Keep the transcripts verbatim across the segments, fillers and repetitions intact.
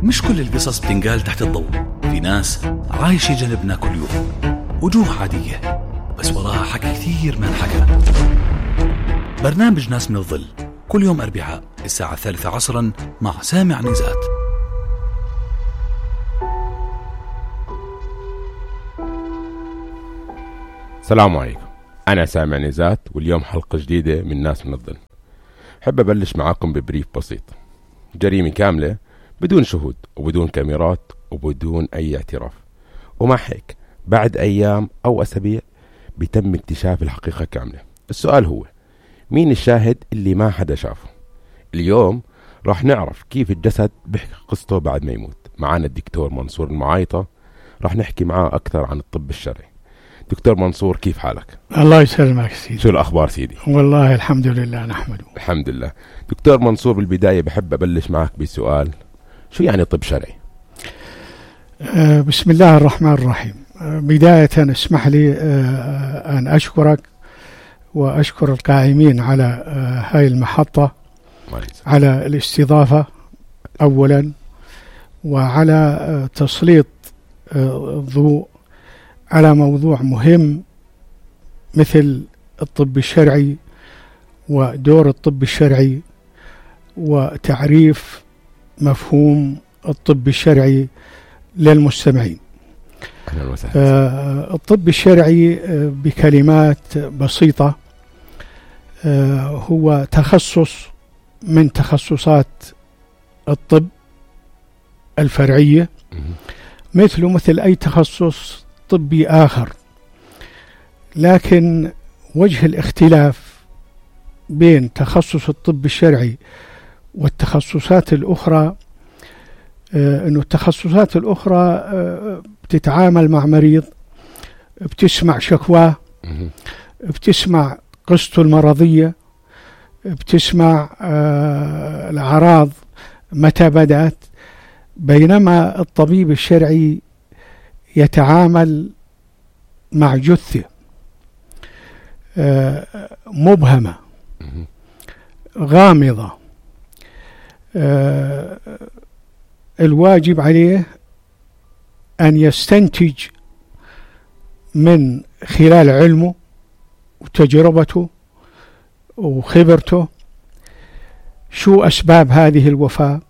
مش كل القصص بتنقال تحت الضوء. في ناس عايشة جنبنا كل يوم، وجوه عادية بس وراها حكي كثير ما انحكى. برنامج ناس من الظل كل يوم أربعاء الساعة الثالثة عصرا مع سامع نزات. السلام عليكم، أنا سامع نزات، واليوم حلقة جديدة من ناس من الظل. حب أبلش معاكم ببريف بسيط. جريمة كاملة بدون شهود وبدون كاميرات وبدون أي اعتراف، ومع هيك بعد أيام أو أسابيع بيتم اكتشاف الحقيقة كاملة. السؤال هو مين الشاهد اللي ما حدا شافه؟ اليوم راح نعرف كيف الجسد بيحكي قصته بعد ما يموت. معانا الدكتور منصور المعايطة، راح نحكي معاه أكثر عن الطب الشرعي. دكتور منصور، كيف حالك؟ الله يسلمك سيدي. شو الأخبار سيدي؟ والله الحمد لله نحمده. الحمد لله. دكتور منصور، بالبداية بحب أبلش معك بسؤال، شو يعني طب شرعي؟ آه بسم الله الرحمن الرحيم. آه بداية اسمح لي آه أن أشكرك وأشكر القائمين على آه هاي المحطة على الاستضافة أولا، وعلى آه تسليط آه الضوء على موضوع مهم مثل الطب الشرعي ودور الطب الشرعي وتعريف مفهوم الطب الشرعي للمستمعين. آه الطب الشرعي آه بكلمات بسيطة آه هو تخصص من تخصصات الطب الفرعية، مثله مثل أي تخصص طبي آخر، لكن وجه الاختلاف بين تخصص الطب الشرعي والتخصصات الأخرى آه أنه التخصصات الأخرى آه بتتعامل مع مريض، بتسمع شكواه، بتسمع قصته المرضية، بتسمع آه الأعراض متى بدأت، بينما الطبيب الشرعي يتعامل مع جثة آه مبهمة غامضة، آه الواجب عليه أن يستنتج من خلال علمه وتجربته وخبرته شو أسباب هذه الوفاة.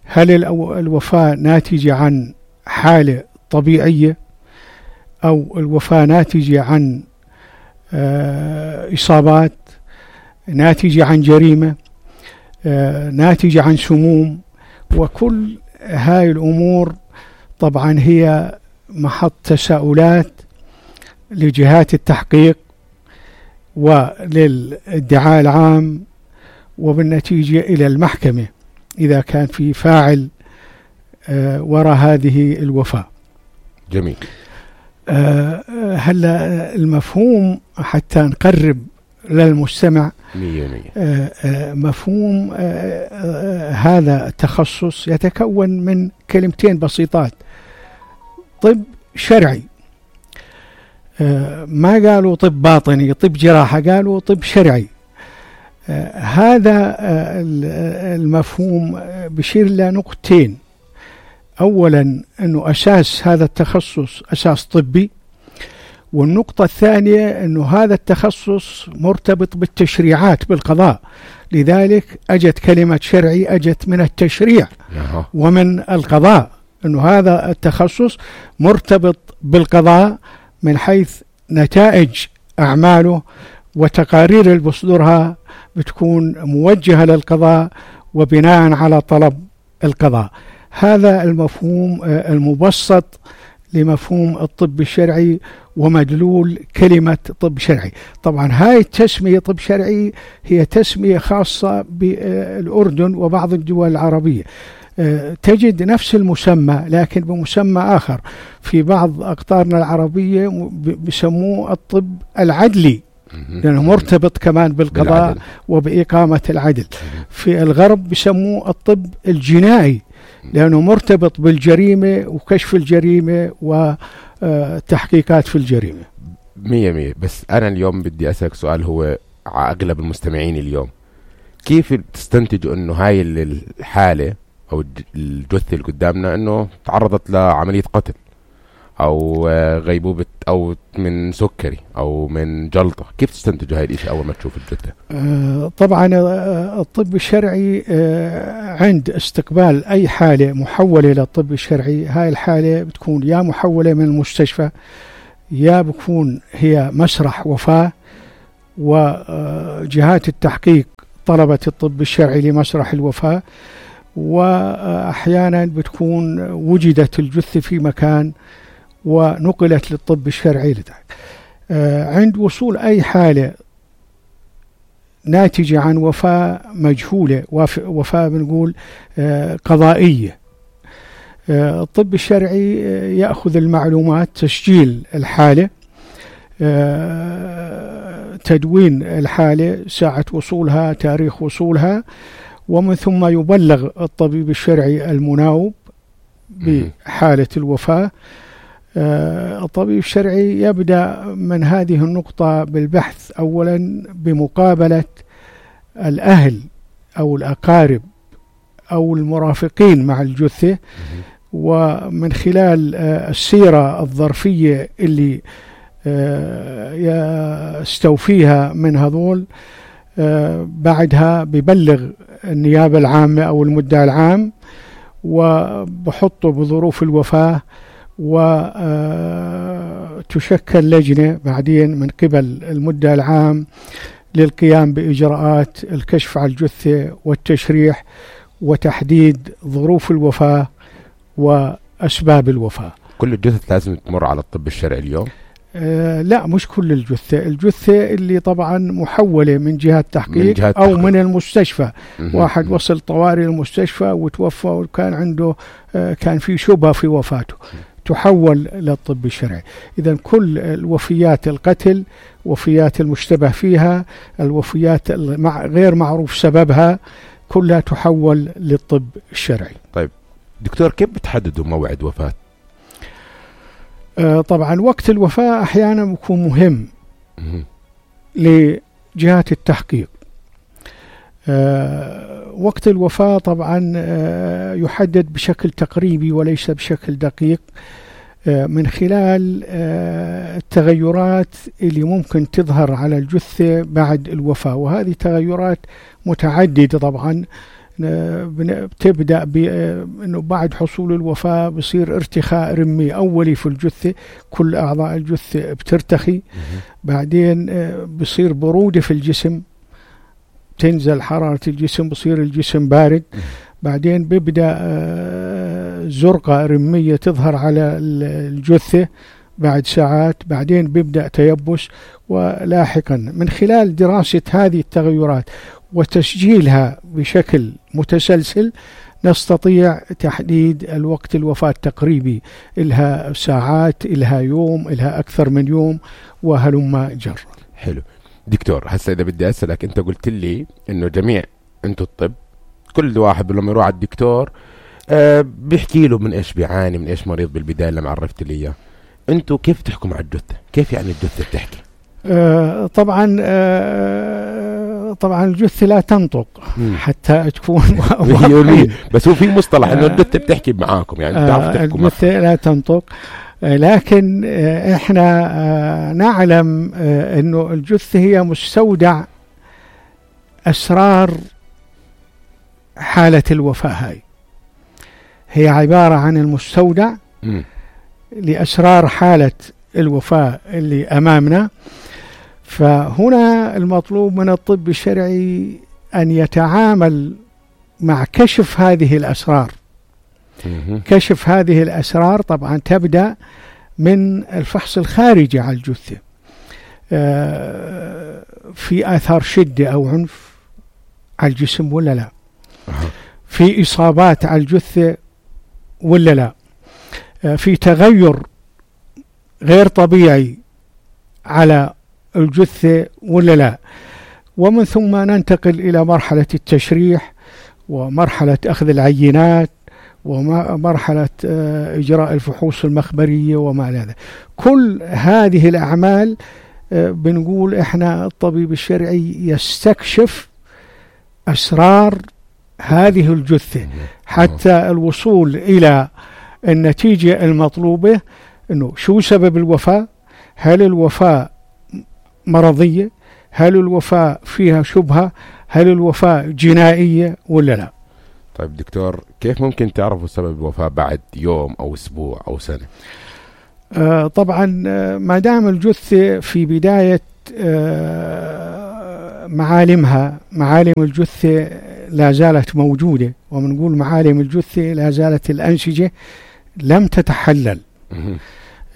هل الوفاة ناتجة عن حالة طبيعية، أو الوفاة ناتجة عن آه إصابات، ناتجة عن جريمة، آه ناتجة عن سموم. وكل هاي الأمور طبعا هي محط تساؤلات لجهات التحقيق وللادعاء العام، وبالنتيجة إلى المحكمة إذا كان في فاعل آه وراء هذه الوفاة. جميل. آه هلا المفهوم حتى نقرب للمستمع مية مية. آه آه مفهوم آه آه هذا التخصص يتكون من كلمتين بسيطات: طب شرعي. آه ما قالوا طب باطني، طب جراحة، قالوا طب شرعي. آه هذا آه المفهوم بشير لنقطتين. أولا أنه أساس هذا التخصص أساس طبي، والنقطة الثانية أنه هذا التخصص مرتبط بالتشريعات بالقضاء، لذلك أجت كلمة شرعي أجت من التشريع ومن القضاء، أنه هذا التخصص مرتبط بالقضاء من حيث نتائج أعماله وتقارير اللي بصدرها بتكون موجهة للقضاء وبناء على طلب القضاء. هذا المفهوم المبسط لمفهوم الطب الشرعي ومدلول كلمة طب شرعي. طبعا هاي التسمية طب شرعي هي تسمية خاصة بالأردن وبعض الدول العربية، تجد نفس المسمى لكن بمسمى آخر في بعض أقطارنا العربية بيسموه الطب العدلي، لأنه مرتبط كمان بالقضاء بالعدل وبإقامة العدل. في الغرب بيسموه الطب الجنائي لأنه مرتبط بالجريمة وكشف الجريمة وتحقيقات في الجريمة. مية مية. بس أنا اليوم بدي أسألك سؤال هو أغلب المستمعين اليوم، كيف تستنتجوا أنه هاي الحالة أو الجثة اللي قدامنا أنه تعرضت لعملية قتل أو غيبوبة أو من سكري أو من جلطة، كيف تستنتجوا هاي الإشي أول ما تشوف الجثة؟ آه طبعا الطب الشرعي آه عند استقبال أي حالة محولة للطب الشرعي، هاي الحالة بتكون يا محولة من المستشفى يا بكون هي مسرح وفاة، وجهات التحقيق طلبت الطب الشرعي لمسرح الوفاة، وأحيانا بتكون وجدت الجثة في مكان ونقلت للطب الشرعي لذلك. عند وصول أي حالة ناتجة عن وفاة مجهولة، وفاة بنقول قضائية، الطب الشرعي يأخذ المعلومات، تسجيل الحالة، تدوين الحالة، ساعة وصولها، تاريخ وصولها، ومن ثم يبلغ الطبيب الشرعي المناوب بحالة الوفاة. الطبيب الشرعي يبدأ من هذه النقطة بالبحث أولا بمقابلة الأهل أو الأقارب أو المرافقين مع الجثة، ومن خلال السيرة الظرفية اللي يستوفيها من هذول، بعدها ببلغ النيابة العامة أو المدعي العام، وبحطه بظروف الوفاة، وتشكل لجنة بعدين من قبل المدعي العام للقيام بإجراءات الكشف على الجثة والتشريح وتحديد ظروف الوفاة وأسباب الوفاة. كل الجثث لازم تمر على الطب الشرعي اليوم؟ آه لا، مش كل الجثة، الجثة اللي طبعا محولة من جهة تحقيق من جهة أو تحقيق. من المستشفى، م- واحد م- وصل طوارئ المستشفى وتوفى وكان عنده آه كان في شبهة في وفاته، م- تحول للطب الشرعي. إذن كل الوفيات القتل، وفيات المشتبه فيها، الوفيات غير معروف سببها، كلها تحول للطب الشرعي. طيب دكتور، كيف بتحددوا موعد وفاة؟ آه طبعا وقت الوفاة أحيانا بيكون مهم لجهات التحقيق. آه وقت الوفاة طبعا آه يحدد بشكل تقريبي وليس بشكل دقيق، آه من خلال آه التغيرات اللي ممكن تظهر على الجثة بعد الوفاة، وهذه تغيرات متعددة طبعا. بتبدأ بأنه بعد حصول الوفاة بصير ارتخاء رمي أولي في الجثة، كل أعضاء الجثة بترتخي، بعدين بصير برودة في الجسم، تنزل حرارة الجسم، بصير الجسم بارد، بعدين بيبدأ زرقة رمية تظهر على الجثة بعد ساعات، بعدين بيبدأ تيبس، ولاحقا من خلال دراسة هذه التغيرات وتسجيلها بشكل متسلسل نستطيع تحديد الوقت الوفاة التقريبي، إلها ساعات، إلها يوم، إلها أكثر من يوم، وهلما جر. حلو دكتور، هسا إذا بدي أسألك، أنت قلت لي إنه جميع أنتوا الطب كل واحد لما يروح على الدكتور آه بيحكي له من إيش بيعاني، من إيش مريض بالبداية لما عرفت لي إياه. أنتوا كيف تحكم على الجثة؟ كيف يعني الجثة بتحكي؟ آه طبعا آه طبعا الجثة لا تنطق مم. حتى تكون بس هو في مصطلح انه الجثة بتحكي معاكم، يعني بتعرف تحكوا معاكم. الجثة لا تنطق، آه لكن آه احنا آه نعلم آه انه الجثة هي مستودع اسرار حالة الوفاة. هاي هي عبارة عن المستودع مم. لأسرار حالة الوفاة اللي أمامنا. فهنا المطلوب من الطب الشرعي أن يتعامل مع كشف هذه الأسرار. كشف هذه الأسرار طبعا تبدأ من الفحص الخارجي على الجثة، في آثار شدة أو عنف على الجسم ولا لا، في إصابات على الجثة ولا لا، في تغير غير طبيعي على الجثة ولا لا، ومن ثم ننتقل إلى مرحلة التشريح ومرحلة أخذ العينات ومرحلة إجراء الفحوص المخبرية وما إلى ذلك. كل هذه الأعمال بنقول إحنا الطبيب الشرعي يستكشف أسرار هذه الجثة حتى الوصول إلى النتيجة المطلوبة، إنه شو سبب الوفاة، هل الوفاة مرضية، هل الوفاة فيها شبهة، هل الوفاة جنائية ولا لا. طيب دكتور، كيف ممكن تعرفوا سبب الوفاة بعد يوم أو أسبوع أو سنة؟ آه طبعا آه ما دام الجثة في بداية آه معالمها، معالم الجثة لا زالت موجودة، ومنقول معالم الجثة لا زالت الأنسجة لم تتحلل.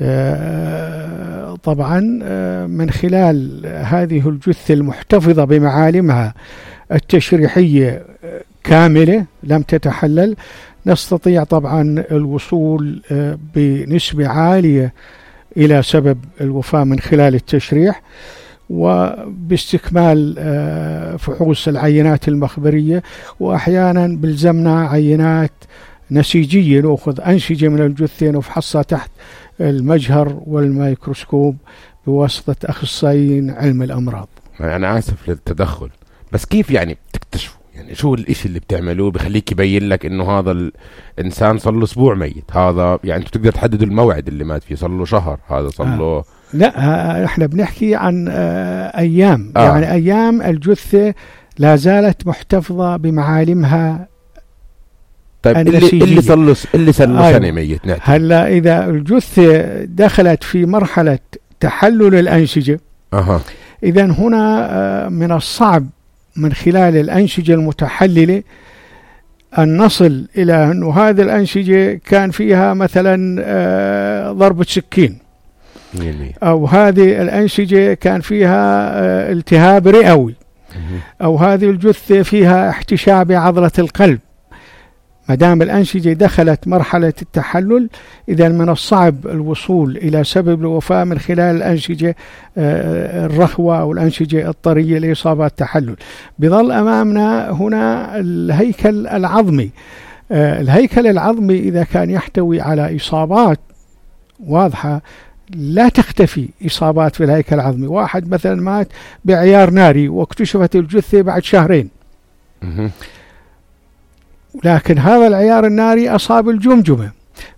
آه طبعا آه من خلال هذه الجثة المحتفظة بمعالمها التشريحية كاملة لم تتحلل، نستطيع طبعا الوصول آه بنسبة عالية إلى سبب الوفاة من خلال التشريح، وباستكمال آه فحوص العينات المخبرية، وأحيانا بلزمنا عينات نسيجية، نأخذ أنسجة من الجثة نفحصها تحت المجهر والميكروسكوب بواسطة أخصائيين علم الأمراض. أنا آسف للتدخل، بس كيف يعني تكتشفوا؟ يعني شو الإشي اللي بتعملوه بخليك يبين لك إنه هذا الإنسان صار له أسبوع ميت؟ هذا يعني أنتوا تقدر تحددوا الموعد اللي مات فيه، صار له شهر، هذا صار له آه. لا، احنا بنحكي عن آه أيام. آه. يعني أيام الجثة لا زالت محتفظة بمعالمها. طيب اللي اللي صار له اللي صار له سنة ميت نعم. هلا إذا الجثة دخلت في مرحلة تحلل الأنسجة، أه. إذن هنا من الصعب من خلال الأنسجة المتحللة أن نصل إلى أنه هذه الأنسجة كان فيها مثلا ضربة سكين، أو هذه الأنسجة كان فيها التهاب رئوي، أو هذه الجثة فيها احتشاء بعضلة القلب. ما دام الأنسجة دخلت مرحلة التحلل، إذا من الصعب الوصول إلى سبب الوفاة من خلال الأنسجة الرخوة أو الأنسجة الطرية لإصابات التحلل. بظل أمامنا هنا الهيكل العظمي. الهيكل العظمي إذا كان يحتوي على إصابات واضحة لا تختفي إصابات في الهيكل العظمي. واحد مثلا مات بعيار ناري واكتشفت الجثة بعد شهرين، لكن هذا العيار الناري أصاب الجمجمة،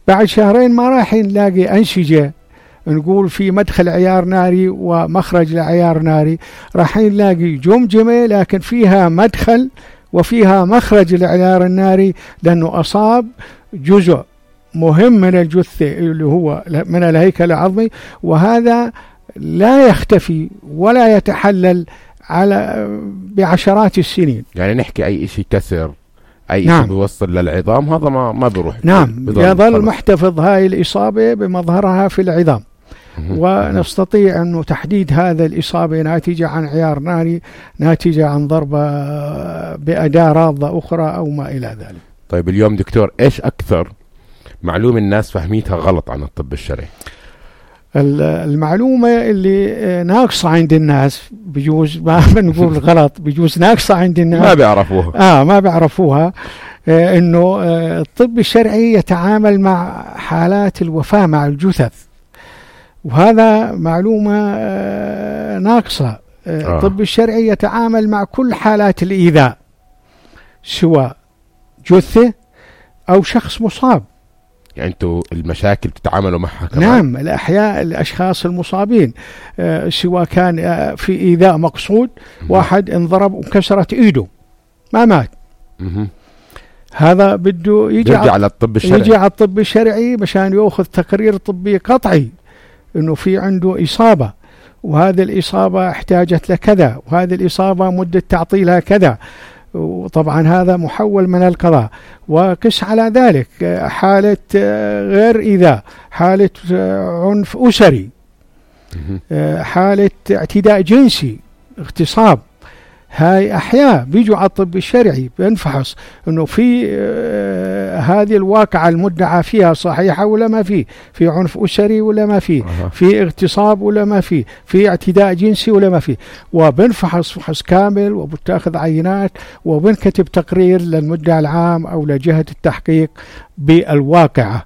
بعد شهرين ما راح نلاقي أنسجة نقول في مدخل عيار ناري ومخرج لعيار ناري، راح نلاقي جمجمة لكن فيها مدخل وفيها مخرج للعيار الناري، لأنه أصاب جزء مهم من الجثة اللي هو من الهيكل العظمي، وهذا لا يختفي ولا يتحلل على بعشرات السنين. يعني نحكي أي شيء كسر، أي نعم. شيء بيوصل للعظام، هذا ما ما بيروح. نعم، يظل محتفظ هاي الإصابة بمظهرها في العظام، ونستطيع أنه تحديد هذا الإصابة ناتجة عن عيار ناري، ناتجة عن ضربة بأداة راضة أخرى أو ما إلى ذلك. طيب اليوم دكتور، إيش أكثر معلومة الناس فهميتها غلط عن الطب الشرعي؟ المعلومة اللي ناقصة عند الناس، بيجوز ما بنقول غلط، بيجوز ناقصة عند الناس، ما بيعرفوها آه ما بيعرفوها آه إنه آه الطب الشرعي يتعامل مع حالات الوفاة مع الجثث، وهذا معلومة آه ناقصة. آه آه. الطب الشرعي يتعامل مع كل حالات الإيذاء، سواء جثة أو شخص مصاب. يعني انتوا المشاكل بتتعاملوا معها كمان؟ نعم، الأحياء الأشخاص المصابين آه سواء كان آه في إيذاء مقصود، مم. واحد انضرب وكسرت إيده ما مات، مم. هذا بده يجي على الطب الشرعي، يجي على الطب الشرعي مشان يأخذ تقرير طبي قطعي إنه في عنده إصابة، وهذه الإصابة احتاجت لكذا، وهذه الإصابة مدة تعطيلها كذا، وطبعا هذا محول من القضاء. وقس على ذلك حالة غير إيذاء، حالة عنف أسري، حالة اعتداء جنسي، اغتصاب، هاي أحياء بيجوا على الطب الشرعي بنفحص إنه في آه هذه الواقعة المدعى فيها صحيحة ولا ما فيه، في عنف أسري ولا ما فيه، أه. في اغتصاب ولا ما فيه، في اعتداء جنسي ولا ما فيه، وبنفحص فحص كامل وبتاخذ عينات وبنكتب تقرير للمدعي العام أو لجهة التحقيق بالواقعة.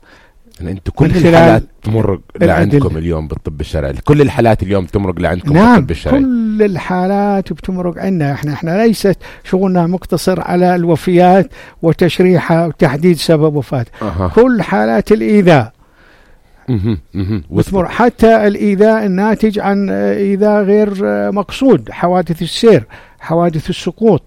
يعني انتوا كل الحالات تمرق لعندكم اليوم بالطب الشرعي؟ كل الحالات اليوم تمرق لعندكم نعم بالطب الشرعي؟ كل الحالات بتمرق عندنا. احنا احنا ليست شغلنا مقتصر على الوفيات وتشريحها وتحديد سبب وفاته. أه. كل حالات الإيذاء بتمر، حتى الإيذاء الناتج عن إيذاء غير مقصود، حوادث السير، حوادث السقوط،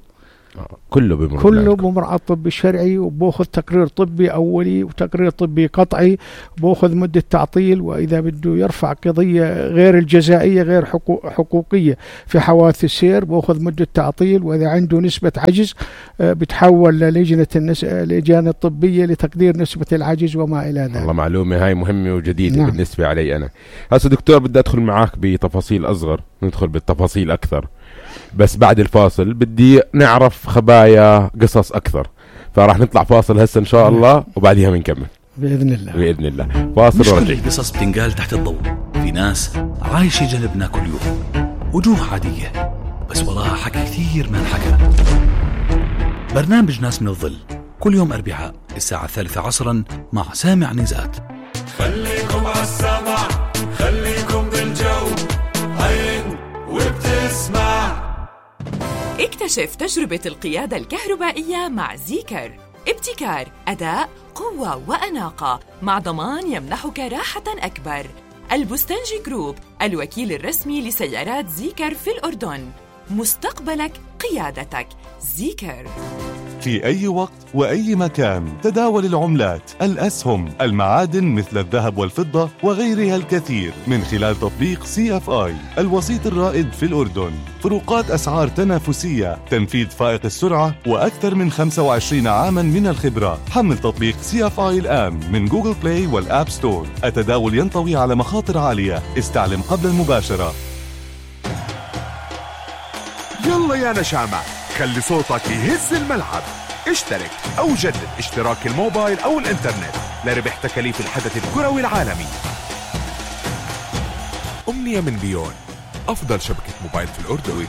كله بمر كله بمر على الطب الشرعي. وبأخذ تقرير طبي أولي وتقرير طبي قطعي، بأخذ مدة تعطيل، وإذا بده يرفع قضية غير الجزائية غير حقوق حقوقية في حوادث السير بأخذ مدة تعطيل، وإذا عنده نسبة عجز بتحول للجنة النس... اللجان الطبية لتقدير نسبة العجز وما إلى ذلك. والله معلومة هاي مهمة وجديدة. نعم. بالنسبة علي أنا هسه دكتور بدي أدخل معاك بتفاصيل أصغر، ندخل بالتفاصيل أكثر، بس بعد الفاصل بدي نعرف خبايا قصص أكثر، فراح نطلع فاصل هسه إن شاء الله وبعدها بنكمل بإذن الله. بإذن الله فاصل. مش كل القصص بتنقال تحت الضوء، في ناس عايشة جنبنا كل يوم، وجوه عادية بس وراها حكي كثير ما انحكى. برنامج ناس من الظل كل يوم أربعاء الساعة الثالثة عصرا مع سامع نزات. خليكم عالسمع، خليكم بالجو، عين وبتسمع. اكتشف تجربة القيادة الكهربائية مع زيكر. ابتكار، أداء، قوة وأناقة مع ضمان يمنحك راحة أكبر. البستنجي جروب، الوكيل الرسمي لسيارات زيكر في الأردن. مستقبلك قيادتك. زيكر. في أي وقت وأي مكان تداول العملات، الأسهم، المعادن مثل الذهب والفضة وغيرها الكثير من خلال تطبيق سي اف آي الوسيط الرائد في الأردن. فروقات أسعار تنافسية، تنفيذ فائق السرعة، وأكثر من خمسة وعشرين عاما من الخبرة. حمل تطبيق سي اف آي الآن من جوجل بلاي والآب ستور. التداول ينطوي على مخاطر عالية، استعلم قبل المباشرة. يلا يا نشامة، خلي صوتك يهز الملعب. اشترك أو جدد اشتراك الموبايل أو الإنترنت لربح تكاليف الحدث الكروي العالمي. أمنية من بيون، أفضل شبكة موبايل في الأردن.